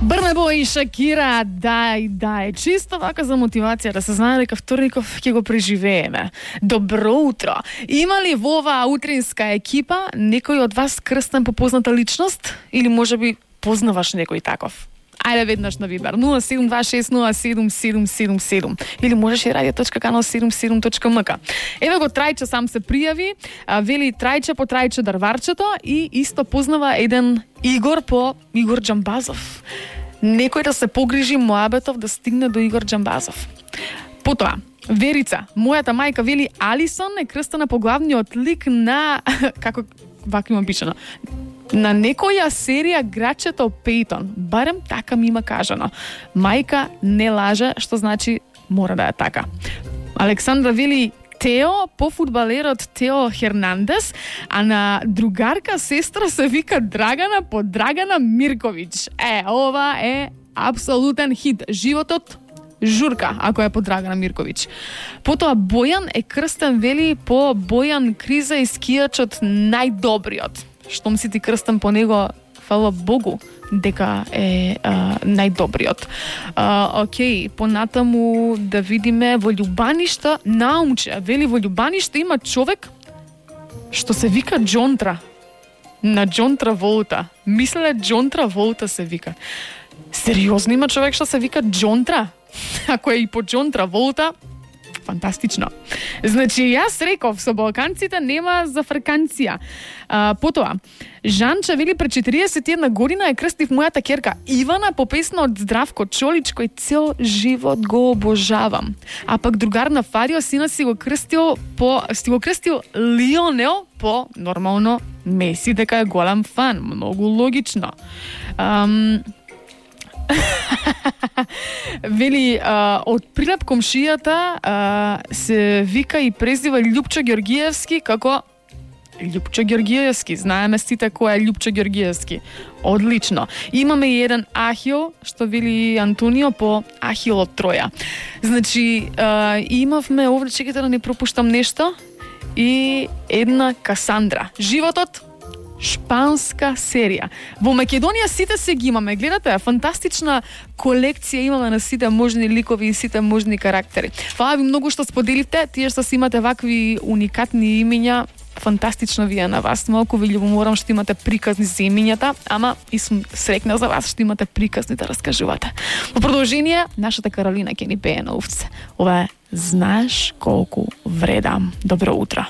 Брнабо и Шакира, дај, чисто вака за мотивација да се знае дека вторников ќе го преживееме. Добро утро. Има ли во оваа утринска екипа некој од вас крстен по позната личност или можеби познаваш некој таков? Ајде веднаш на Вибер 0726077777 или можеш и radio.канал77.mk. Еве го Трајче сам се пријави, вели Трајче по Трајче дрварчето и исто познава еден Игор по Игор Џамбазов. Некој да се погрижи моабетов да стигне до Игор Џамбазов. Потоа Верица, мојата мајка вели Алисон е крстена по главниот лик на како вака има пишано на некоја серија Грачето Пейтон. Барем така ми има кажано. Мајка не лаже, што значи мора да е така. Александра вели Тео по фудбалерот Тео Хернандес, а на другарка сестра се вика Драгана по Драгана Мирковиќ. Ова е апсолутен хит. Животот журка, ако е по Драгана Мирковиќ. Потоа Бојан е крстен вели по Бојан Криза и скијачот најдобриот. Штом си ти крстен по него, фала Богу, дека е најдобриот. Океј, понатаму да видиме во Љубаништа, наумче, вели во Љубаништа има човек што се вика Џонтра. На Џонтра Волта. Мислеле Џонтра Волта се вика. Сериозно има човек што се вика Џонтра? Ако е и по Џонтра Волта, фантастично. Значи, јас реков, со балканците нема зафрканција. Потоа, Жанча вели пред 41 година е крстив мојата ќерка Ивана по песна од Здравко Чолич, кој цел живот го обожавам. А пак другар на Фарио сина си го крстил Лионел по нормално Меси, дека е голем фан. Многу логично. Вели, од Прилеп комшијата се вика и презива Љупчо Ѓоргиевски како Љупчо Ѓоргиевски. Знаеме сите кој е Љупчо Ѓоргиевски. Одлично. Имаме и еден Ахил, што вели Антонио по Ахил од Троја. Значи, имавме овде, чекайте да не пропуштам нешто, и една Касандра. Животот шпанска серија. Во Македонија сите се ги имаме. Гледате, фантастична колекција имаме на сите можни ликови и сите можни карактери. Фала ви многу што споделивте, тие што си имате вакви уникатни имиња, фантастично ви е на вас. Малку ви љубоморам што имате приказни за имињата, ама и сум срекна за вас што имате приказни да раскажувате. Во продолжение, нашата Каролина ќе ни пее на овце. Ова е Знаеш колку вредам. Добро утро.